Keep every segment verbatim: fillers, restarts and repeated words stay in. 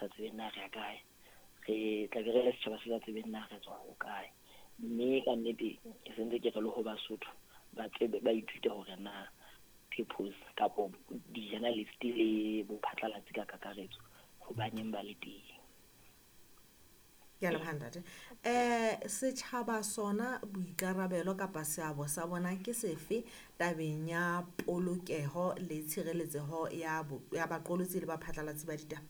sa tsebeng na re ya kae, re tla be re le setjhaba se sa tsebeng na re tswa ho kae. Mme ka nnete ke sentse ke re le ho Basotho ba tsebe, ba ithute hore na purpose kapo di-journalist le bophatlalatsi ka kakaretso hobaneng ba le teng. Ke a leboha ntate. Eh setjhaba sona boikarabelo kapa seabo sa bona ke sefe tabeng ya polokeho le tshireletseho ya bo, ya baqolotsi le baphatlalatsi ba ditaba?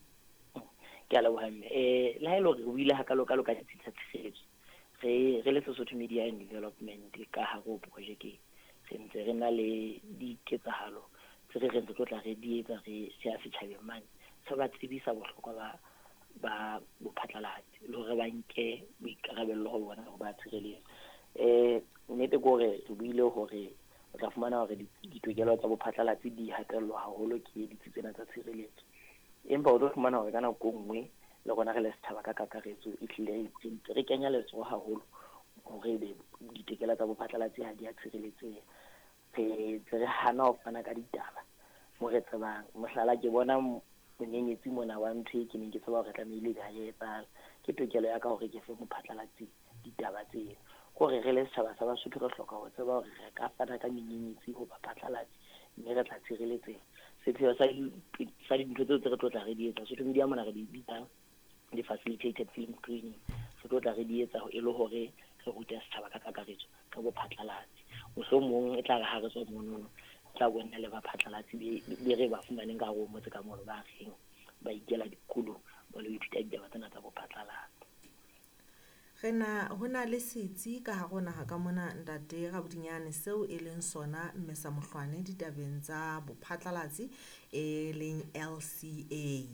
Ke a leboha mme. Eh le ha e le hore re buile hakalo-kalo ka ditsi tsa tshireletso, re re le Sesotho Media and Development ka hare ho projeke re ntse re na le diketsahalo tse re reng re tlo tla re di etsa re ya setjhabeng mane, re ba tsebisa bohlokwa ba ba bophatlalatsi le hore ba nke boikarabello ho bona hore ba tshireletsa. Eh nnete ke hore re buile hore o tla fumana hore ditokelo tsa bophatlalatsi di hatellwa haholo ke ditsi tsena tsa tshireletso, empa o tlo fumana hore ka nako e nngwe le rona re le setjhaba ka kakaretso e hlile re kenya letsoho haholo hore ebe ditokelo tsa bophatlalatsi ha di a tshireletseha. Re ntse re hana ho fana ka ditaba mo re tsebang. Mohlala, ke bona monyenyetsi mona wa ntho e ke neng ke tseba hore tlamehile ha e etsahala. Ke tokelo ya ka hore ke fe mophatlalatsi ditaba tseo. Kore re le setjhaba sa Basotho re hloka ho tseba hore re ka fana ka menyenyetsi ho baphatlalatsi mme re tla tshireletseha. Sepheo sa sa dintho tseo tse re tlo tla re di etsa, Sotho Media mona re di bitsa di-facilitated film screening, re tlo tla re di etsa e le hore re rute setjhaba ka kakaretso ka bophatlalatsi. Mohlomong e tla re ha re tswa monono, tla bona le baphatlalatsi be re ba fumaneng ka hare ho motse ka mono ba reng ba ikela dikolong ba lo ithuta ditaba tsena tsa bophatlalatsi. Re na ho na le setsi ka hare ho naha ka mona ntate Rabodinyane seo e leng sona mme sa mohlwane ditabeng tsa bophatlalatsi e leng L C A.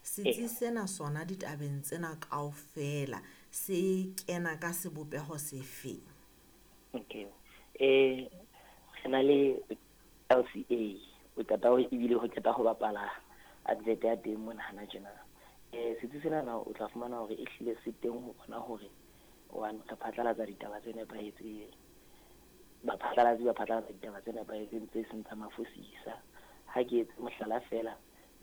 Setsi sena sona ditabeng tsena kaofela se kena ka sebopeho sefe? Okay. Eh re na le L C A, o qeta ho ebile ho qeta ho bapala advert ya teng mona hana tjena. Eh setsi sena na o tla fumana hore e hlile se teng ho bona hore one re phatlalatsa ditaba tse nepahetseng, baphatlalatsi ba phatlalatsa ditaba tse nepahetseng tse seng tsa mafosisa. Ha ke etse mohlala feela,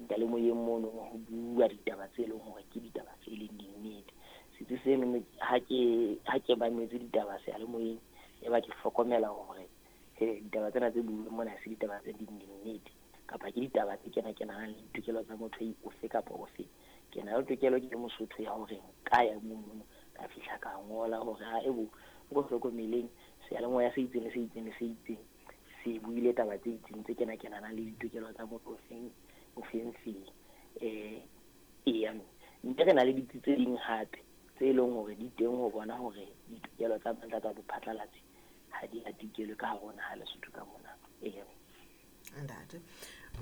diyalemoyeng mono ho bua ditaba tse leng hore ke ditaba tse leng dinnete. Setsi seno ha ke ha ke mametse ditaba seyalemoyeng, e ba ke hlokomela hore he ditaba tsena tse buuweng mona ha se ditaba tse ding dinnete, kapa ke ditaba tse kena-kenang le ditokelo tsa motho ofe kapa ofe. Ke na le tokelo ke le Mosotho ya hore nka ya mono ka fihla ka ngola hore ha ebo o hlokomeleng seyalemoya se itseng le se itseng le se itseng se buile taba tse itseng tse kena-kenang le ditokelo tsa motho ofeng ofeng feng. Eh eya, mme re na le ditsi tse ding hape tse leng hore di teng ho bona hore ditokelo tsa banna tsa bophatlalatsi ha di hatikelwe ka hare ho naha Lesotho ka mona. Eya. Ntate.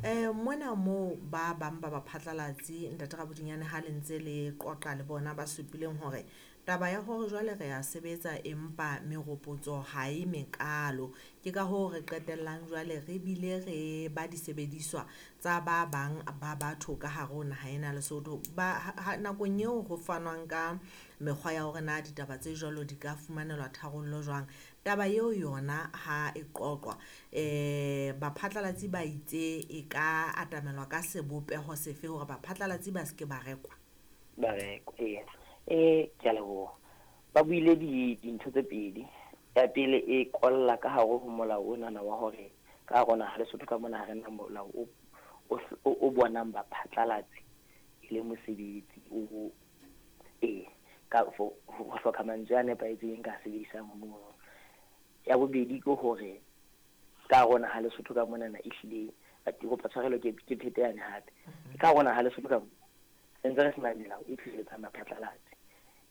Eh mona moo ba bang ba baphatlalatsi ntate Rabodinyane ha le ntse le qoqa le bona ba supileng hore taba ya hore jwale re a sebetsa empa meropotso ha e mekalo, ke ka hoo re qetellang jwale re bile re ba disebediswa tsa ba bang ba batho ka hare ho naha ena Lesotho. Ba ha, nakong eo ho fanwang ka mekgwa ya hore na ditaba tse jwalo di ka fumanelwa tharollo jwang, taba eo yona ha e qoqwa eh baphatlalatsi ba itse e ka atamelwa ka sebopeho sefe hore baphatlalatsi ba se ke ba rekwa? Ba rekwa, ee. Eh ke a leboha. Ba buile di dintho tse pedi. Ya pele e kolla ka hare ho molao onana wa hore ka hare ho naha Lesotho ka mona ha re na molao o, o, o bonang baphatlalatsi e le mosebetsi o, ee, ka ho hloka mantswe a nepahetseng ka sebedisang mono. Ya bobedi ke hore ka hare ho naha Lesotho ka monana ehlile ke kopa tshwarelo ke ke phete yane hape. Ka hare ho naha Lesotho ka re ntse re sena melao e tshireletsang baphatlalatsi,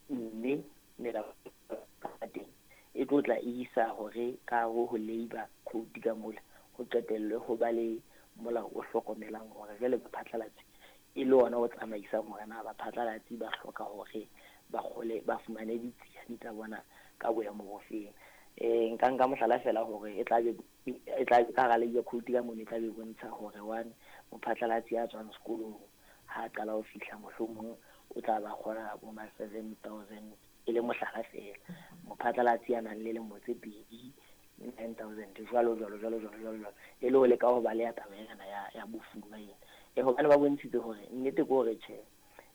mme melao ya teng e tlo tla isa hore ka hare ho labour code ka mola ho qetellwe ho ba le molao o hlokomelang hore jwale baphatlalatsi e le ona o tsamaisang hore na baphatlalatsi ba hloka hore ba kgole ba fumane ditsiane tsa bona ka boemo bofeng. Eh nka nka mohlala fela hore e tla be e tla ka hara labour code ka mono e tla be bontsha hore one mophatlalatsi ya tswang sekolong ha qala ho fihla mohlomong o tla ba kgola bo ma seven thousand e le mohlala fela. Mophatlalatsi ya nang le lemo tse pedi nine thousand jwalo jwalo jwalo jwalo jwalo jwalo, e le ho leka ho baleha taba ena ya ya bofuma ena. Eh hobane ba bontshitse hore nnete ke hore tjhe